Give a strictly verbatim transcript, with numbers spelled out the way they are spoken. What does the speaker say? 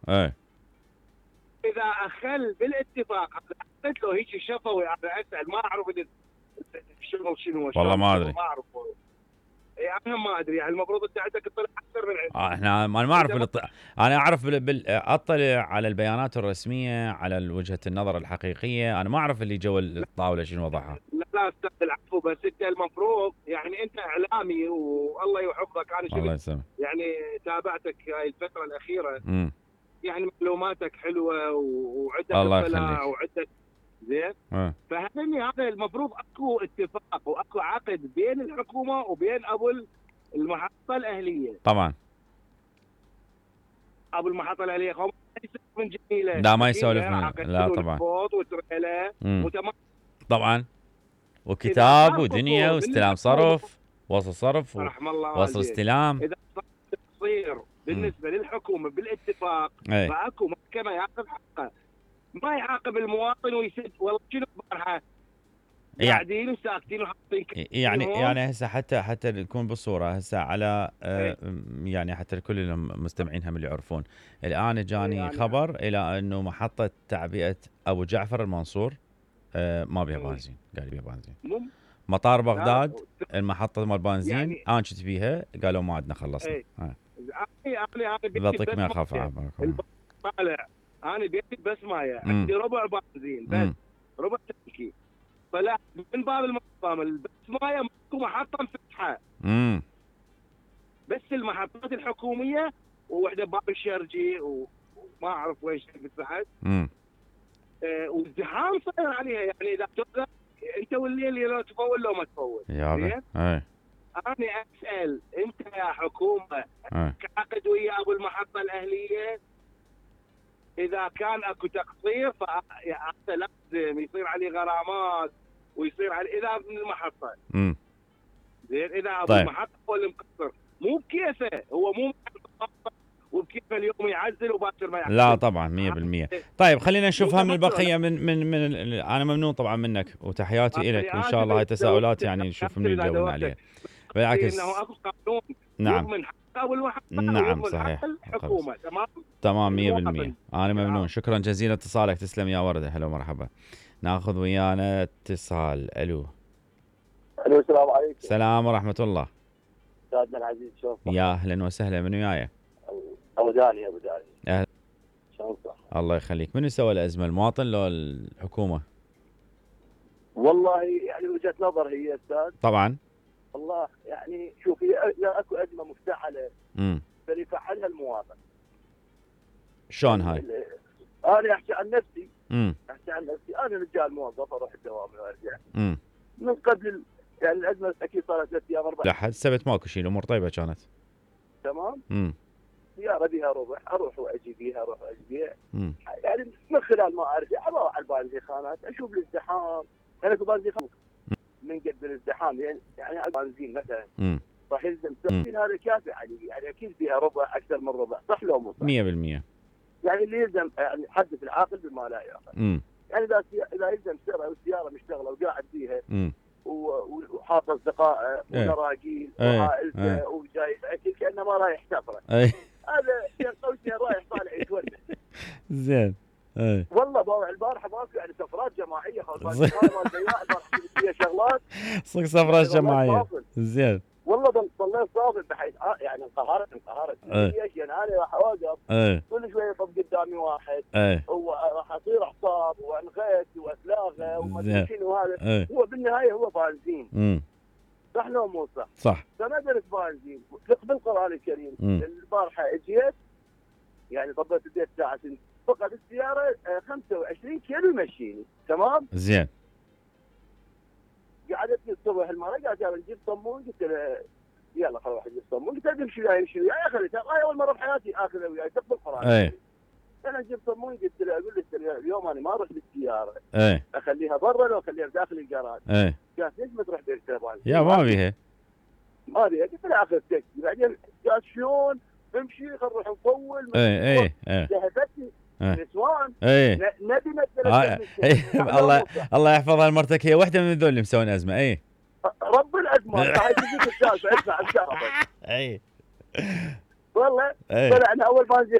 اي اذا اخل بالاتفاق قلت له هيك شفوي انا اسال ما اعرف شنو شنو والله ما ادري ما اعرف اي انا ما ادري يعني المفروض انت عندك تطلع اكثر من عندي. آه احنا ما ما اعرف بالط... انا اعرف بال... بال... اطلع على البيانات الرسميه على وجهه النظر الحقيقيه، انا ما اعرف اللي جو الطاوله شنو وضعها. لا لا استاذ العفو، بس انت المفروض يعني انت اعلامي والله يحفظك، انا الله يسلمك يعني تابعتك هاي الفتره الاخيره امم يعني معلوماتك حلوه وعندك الله اطلاع يخليك وعندك زين. أه. فهمني هذا المفروض اكو اتفاق واكو عقد بين الحكومه وبين ابو المحطه الاهليه. طبعا ابو المحطه الاهليه هم من جميله لا ما يسولف من لا طبعا وتمام طبعا وكتاب ودنيا واستلام صرف وصل صرف ووصل استلام. اذا تصير بالنسبه م. للحكومه بالاتفاق فاكو محكمه ياخذ حقه، ما يعاقب المواطن ويسد والله شنو بارحه قاعدين وساكتين وحاطين يعني يعني هسه حتى حتى نكون بالصوره هسه على آه يعني حتى كل المستمعين هم اللي يعرفون الان جاني يعني خبر الى انه محطه تعبئه ابو جعفر المنصور آه ما بيها بنزين، قال بيها بنزين. مطار بغداد المحطه مال بنزين يعني انا كنت بيها قالوا ما عندنا خلصنا. اي انا انا بعطيك ما اخاف طالع انا بيتي بس مايه عندي ربع بنزين بس مم. ربع تنكي، فلا من باب المنظمه بس مايه ماكو محطه مفتحه امم بس المحطات الحكوميه ووحده باب الشرجي وما اعرف وين فتحت امم آه والزحام صاير عليها يعني اذا توقف انت والليل لو تفول لو ما تفول. يا اي انا اسال انت يا حكومه كعقد ويا ابو المحطه الاهليه اذا كان اكو تقصير فهذا لازم يصير عليه غرامات ويصير عليه اذا من المحطه. امم زين اذا ابو طيب. المحطه هو اللي مقصر مو بكيفه، هو مو وبكيفه اليوم يعزل وباكر ما يعزل. لا طبعا مية بالمية. طيب خلينا نشوفها من البقيه من من من انا ممنون طبعا منك وتحياتي لك، وان شاء الله هاي تساؤلات يعني نشوف من يجاوبنا عليها. بالعكس انه اكو قانون نعم من حق ابو المحطه نعم صحيح الحكومه تمام تمام مية بالمية. انا ممنون شكرا جزيلا اتصالك، تسلم يا ورده. هلا ومرحبا. ناخذ ويانا اتصال. الو الو السلام عليكم. السلام ورحمه الله. استاذنا العزيز شلونك؟ يا اهلا وسهلا، من وياي؟ ابو داني ابو داني. اهلا شلونك؟ الله يخليك. من سوى الازمه، المواطن لو الحكومه؟ والله يعني وجهه نظر هي استاذ. طبعا والله يعني شوف هي اكو ازمه مفتعله امم فليفعلها المواطن. شلون هاي؟ انا احكي عن نفسي امم احكي عن نفسي انا رجال موظف اروح الدوام وارجع. امم من قبل يعني الازمه اكيد صارت ثلاث ايام اربع. لا حد سبت ماكو شيء، الامور طيبه كانت. تمام؟ امم سياره بها ربع اروح واجي بيها اروح واجي بيها. امم يعني من خلال ما اعرف اروح على البنزينات اشوف الازدحام، انا في بنزين من قد الازدحام يعني يعني على البنزين مثلا امم راح يلزم سبعين، هذا كافي عليه يعني اكيد فيها ربع اكثر من ربع، صح لو مو صح؟ مية بالمية. يعني اللي يلزم يعني حدث العاقل بما لا يعقل. امم يعني اذا اذا يلزم سياره والسياره مشتغله وقاعد فيها امم وحاط اصدقائه ومراجيل وعائلته وجايب اكل كانه ما رايح سفره. هذا شيء قوسين رايح طالع يتونس. زين. اي والله باوع البارحه ماكو يعني سفرات جماعيه خلاص مال البياع البارحه فيها شغلات صدق سفرات جماعيه. زين والله ضليت صافي بحيث يعني انقهرت انقهرت ليش؟ يعني انا راح اوقف كل شويه يطب قدامي واحد هو راح اصير اعصاب وانغث واتلاغى وما ادري شنو هذا. هو بالنهايه هو بنزين. امم صح لو مو صح؟ صح. فما درت بنزين بالقران الكريم. البارحه اجيت يعني طبيت البيت الساعه ستة فقط السياره خمسة وعشرين كيلو يمشيني. تمام؟ زين. قعدتني الصبح المره قالت يلا نجيب صمون، قلت له يلا خل اروح اجيب صمون، قلت له امشي وياي امشي وياي اخذتها هاي اول مره بحياتي اخذها وياي طب القران. اي انا اجيب صمون قلت له اقول له اليوم انا ما اروح بالسياره. اي اخليها برا لو اخليها داخل الجراج. اي قالت ليش ما تروح بالسياره؟ يا ما بيها ما بيها. قلت له اخذ تاكسي. بعدين قالت شلون امشي خل نروح نطول. اي اي اي ذهبتني نسوان. اي نبي مثل الله الله يحفظها لمرتك، هي واحده من ذول اللي مسوين ازمه. اي رب الازمه هاي تجيك السالفه اسمع السالفه. اي والله طلعنا اول بنزين